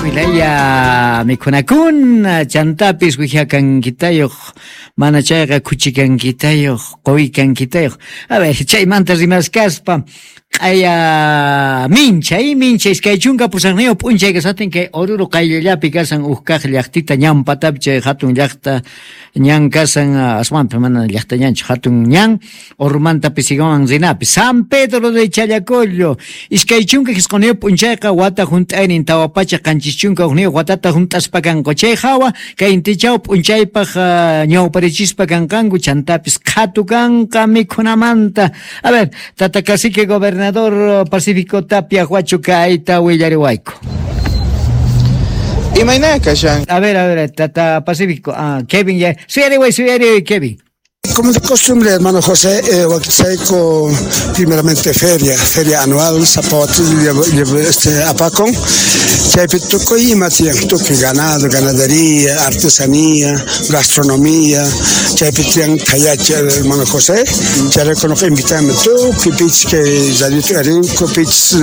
Tukuylaya mikhunakuna, chantapis wijakankitayoj, mana chayqa khuchikankitayoj, qoykankitayoj. A ver, chaymanta rimaskaspa, q'aya minchay, mincha 28 p'unchay kashatin kay Oruro qayllallapi kasan uj kaj llajtita ñan patapi chay jatun llajta ñan kasan, aswanpi mana llajta ñanchu, jatun ñan Oruromanta Pisigawan rinapi. San Pedro de Challacollo, 29 p'unchayqa wata junt'aynin 471 watata junt'aspa kanku. Chay jawa kay intichaw p'unchaypaj ñawparichispa kanqanku, chantapis qhatu kanqa mikhunamanta. A ver, tata cacique gobernador Pacífico Tapia Huacho kayta willariwayku. Imayna kashan? A ver, tata Pacífico, Kevin, ya, suyariway, suyariway, Kevin. Como de costumbre, hermano José, Huaquichaico, primeramente feria anual, Zapote, Apacón, chaypi tukuy ima tiyan, tukuy ganado, ganadería, artesanía, gastronomía, chaypi tiyan Tayacha, hermano José, chayrayku noqa invitame tukuy pich kay radio Arinco, pich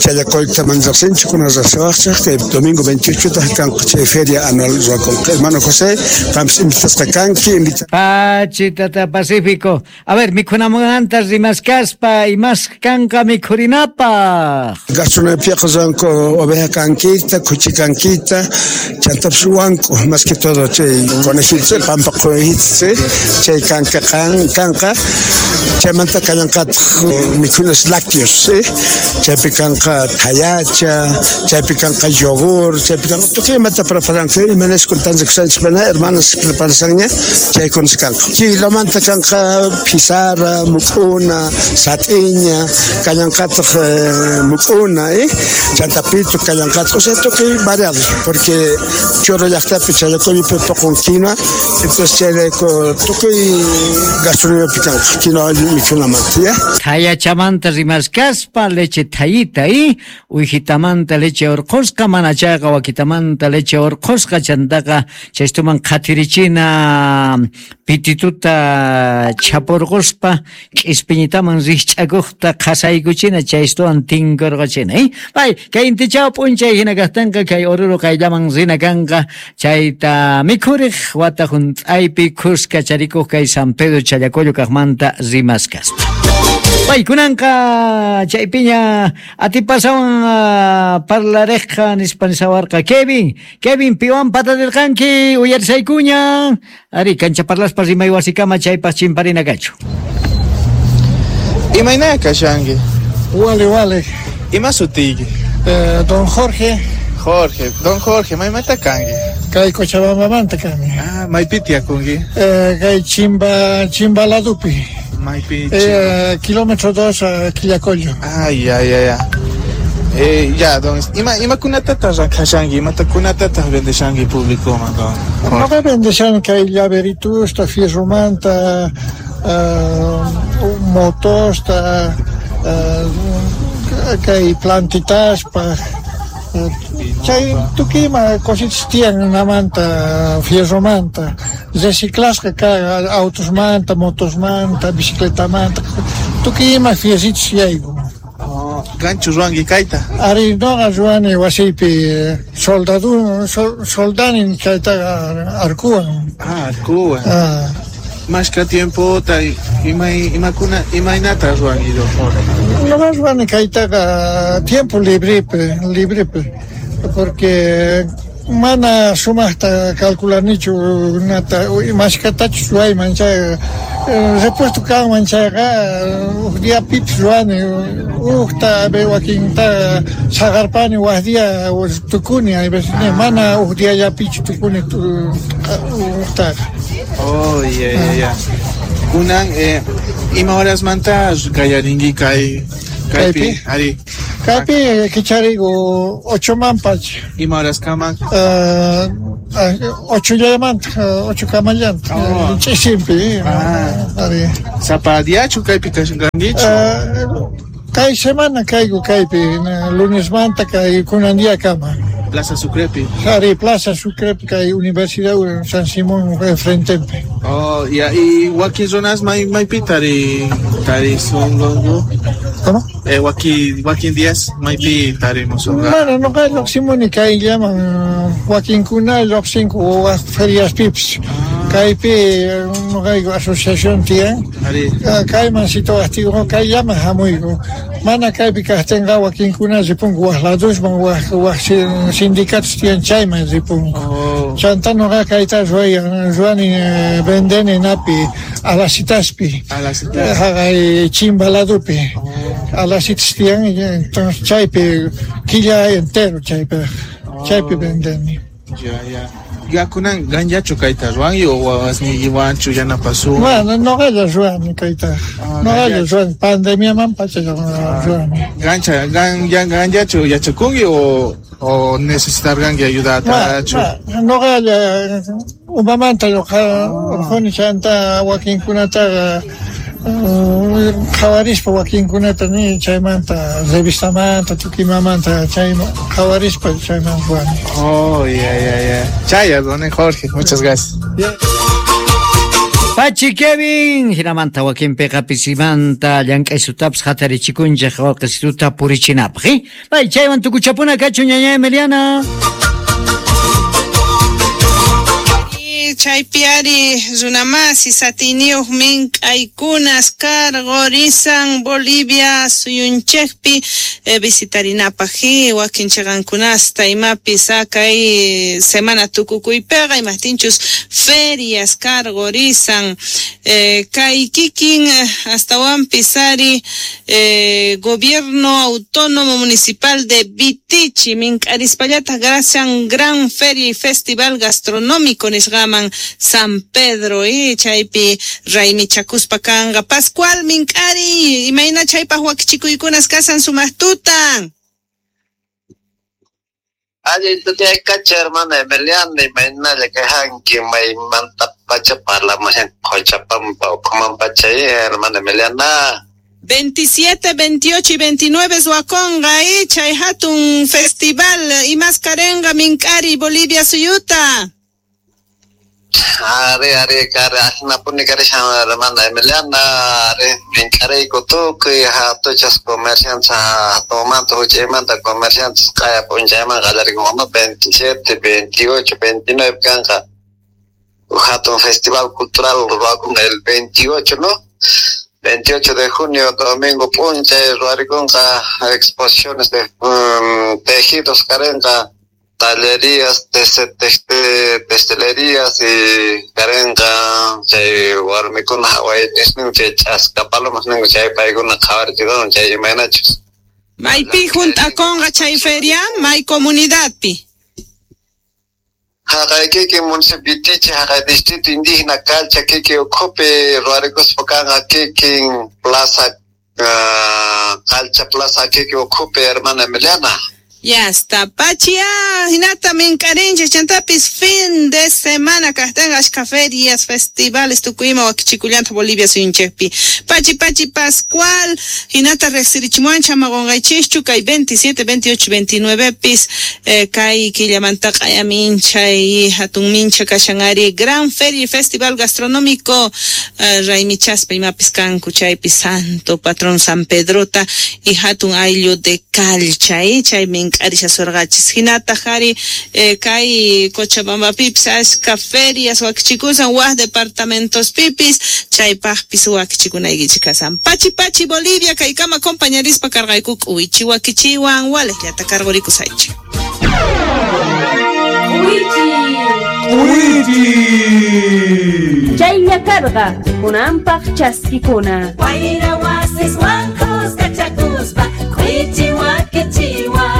Challacolta mana riqsinchu, kuna riqsiwaqchaq, kay domingo 28 taj kanqa chay feria anual ruwakunqa. Hermano José, qampis invitasqa kanki, invita Pachi, tata Pacífico. A ver, mikhunamanta rimaskaspa, imas kanqa mikhurinapaj. Gastronomía ruwanku oveja kankita, khuchi kankita, chantapis wanku, más que todo chay conejito, pampa conejito, chay kanka kanqa, chaymanta kallanqataq mikhunas lácteos, ¿sí? Chaypi kanqa thayacha, chaypi kanqa yogur, chaypi kanqa tukuy imata preparanku, imanasku tantakushanchik mana, hermanas preparasanña, chaykunas kanqa. Kilomanta kanqa pizarra, muk'una, sat'iña, kallanqataq muk'una, chanta pitu kallanqataq, o sea, tukuy variado, porque Choro llaqtapi Challacollopi poqon quinoa, entonces chayrayku tukuy gastronomiapi kanqa quinoa mikhunamanta, ya. Thayachamanta rimaskaspa leche thayita, uwijitamanta leche urqhusqa, mana chayqa wakitamanta leche urqhusqa, chantaqa chaystuman qhatirichina pitituta chapurquspa k'ispiñitaman rijch'akuqta qhasaykuchina, chaystuwan tinkurqachina, Pay, kay intichaw p'unchay hina kaqtinqa kay Oruro qayllaman rina kanqa, chayta mikhuriq wata junt'aypi khuska charikuq kay San Pedro Challacollo kaqmanta rimaskaspa. Pay, kunanqa chaypiña atipasawan parlariqqa nispa nisawarqa Kevin. Kevin, piwan patarirqanki uyarisaykuña. Ari, kancha parlaspa rimay wasikama chaypaq chimparina kachu. Imayna kashanki? Wale, wale. Ima sutiyki? Don Jorge. Jorge, don Jorge, maymanta kanki? Kay Cochabambamanta kani. Ah, maypi tiyakunki? Kay Chimba ladupi. Maypi Kilómetro 2 a Quillacollo. Ay, ay, ay, ay. Ya, don, imakunatataq rakhashanki, imatakunatataq vendeshanki públicoman, don Jorge? Noqa vendeshan kay llaveritusta, fierromanta, motosta, kay plantitaspaj, chay tukuy ima cositas tiyan namanta, fierromanta, reciclasqa ka autosmanta, motosmanta, bicicletamanta, tukuy ima fierritos yaykun. Ganchu ruwanki kayta? Ari, noqa ruwani wasiypi soldanin chaytaqa arkuwan. Ah, arkuwan. Ah. Mashka tiempota, imakuna, imaynata ruwanki, don Jorge? Noqa ruwani kaytaqa tiempo librepi, porque mana sumaqta calculanichu nata, mashkatachus ruwayman chay, repuesto kanman chayqa, uj diapipis ruwani, ujta wakinta saqarpani, waj día tukuni, hay veces mana uj diallapichu tukuni ujtaqa. Oh, ya, ya, ya. Kunan, ima horasmanta qallarinki kay kaypi? Kaypi? Ari. Kaypi kicharigu 8 manpacha. Ima horaskaman? 8 llamanta, 8 kamallanta. Oh. Ch'isimpi, Ah. ari. Sapa diachu kaypi kashankichu? Kay semana kayku kaypi, lunesmanta kay kunan día kama. Plaza Sucrepi. Ari, Plaza Sucrepi kay Universidad San Simón frentepi. Oh, ya, y wakin runas maypi tari songonku? ¿Cómo? Wakin días maypi tarimus. Mana noqa lluqsimuni kayllaman, wakinkuna lluqsinku waj feriaspipis. Kaypi noqayku asociación tiyan. Kayman situajtiyku kayllaman hamuyku. Mana kaypi kajtinqa wakinkuna ripunku waj ladusman, waj sindicatos tiyan chayman ripunku. Chanta noqa kayta ruwani vendeni napi Alasitaspi. Haqay Chimba ladupi. Alasitas tiyan, entonces chaypi killa entero chaypi vendeni. Ya. Ya kunan ganllachu kayta ruwanki o wawasniykiwanchu yanapasun? Bueno, noqalla ruwani kayta. Noqalla ruwani, pandemiaman pacha ruwani. Ganllachu yachakunki o necesitarqanki ayudatachu? Noqalla umamanta urquni chanta wakinkunataqa qhawarispa wakinkunata ni chaymanta revistamanta tukimamanta chayman qhawarispa chayman ruwani. Oh, ya. Chaya, don Jorge, muchas gracias. Yeah. Pachi Kevin, hinamanta wakinpiqa pisimanta llank'aysutapis hatarichikunchik wawqisituta purichinapaq. Bay, chaywan tukuchapuna kachu ñaña Emiliana. Chaypi ari runamasi satiniyuq mink'aykunas karqurisan Bolivia suyunchikpi visitarinapaq wakin chiqankunasta imapis kay semana tukukuypiqa imaqtinchus ferias karqurisan kay kikin astawanpis ari gobierno autónomo municipal de Vitichi mink'arispallataq gracias gran feria y festival gastronómico nisqaman San Pedro chaypi raymichakuspa kanqa Pascual mink'ari imayna chaypaq wakichikuykunas kasan sumaqtutan. Allin tutaykacha hermana Emiliana imaynalla kayhanki maymanta pacha parlamushan Cochabamba ukhuman pacha hermana Emiliana. 27, 28 y 29 Huaconga, chay hatun festival imas karenga mink'ari Bolivia suyuta. Ari kare ajinapuni karishan hermana Emiliana ari mink'ariyku tukuy hatuchas comerciantes hatunmanta huch'aymanta comerciantes q'aya p'unchayman qallarikun 27, 28, 29 kanqa hatun festival cultural ruwakunqa el 28, ¿no? 28 de junio, domingo p'unchay ruwarikunqa exposiciones de tejidos karenqa tallerías, testelerías y karenqa chay warmikuna hawaytisnin chay ch'aska palomas ninku chay paykuna qhawarichikun chay imaynachus. Maypi junt'akunqa chay feria, may comunidadpi. Haqay kikin municipio Vitichi, haqay distrito indígena Calcha kiki ukhupi ruwarikuspa kanqa kikin plaza Calcha plaza kiki ukhupi hermana Emiliana. Ya está, Pachia, hinata mink'arinchik chantapis fin de semana kajtan ashka ferias, festivales tukuyma wakichikullanta Bolivia suyunchikpi. Pachi Pachi Pascual, hinata riqsirichimuanchik ama qunqaychikchu kay 27, 28, 29 pis kay killamanta q'ayaminchay hatun mincha kashan ari gran feria y festival gastronómico raymichaspa imapis kanku chaypi santo patrón San Pedrota y hatun ayllu de Calcha, chay mink'arisha surqachis hinataq ari kay Cochabambapipis ashka ferias wakichikusan waj departamentos pipis chaypaqpis wakichikunaykichik kasan. Pachi Pachi Bolivia kaykama compañerispa karqayku k'uwichi wakichiwan walejllata karqurikusaychik. K'uwichi Chaylla karqa kunanpaq chaskikuna. Wayra wasis wankusqa chakuspa k'uwichi wakichiwan.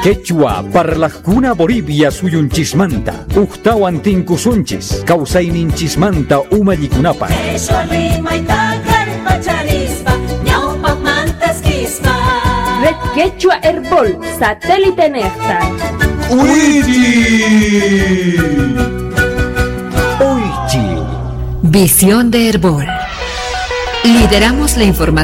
Quechua parlajkuna Bolivia suyunchismanta uktawan tinkusunchis kawsayninchismanta umallikunapaq. Quechua rimayta kallpacharispa ñawpaqmantas kispa. Red Quechua Herbol satélite nexta. Uichi. Uichi. Visión de Herbol. Lideramos la información.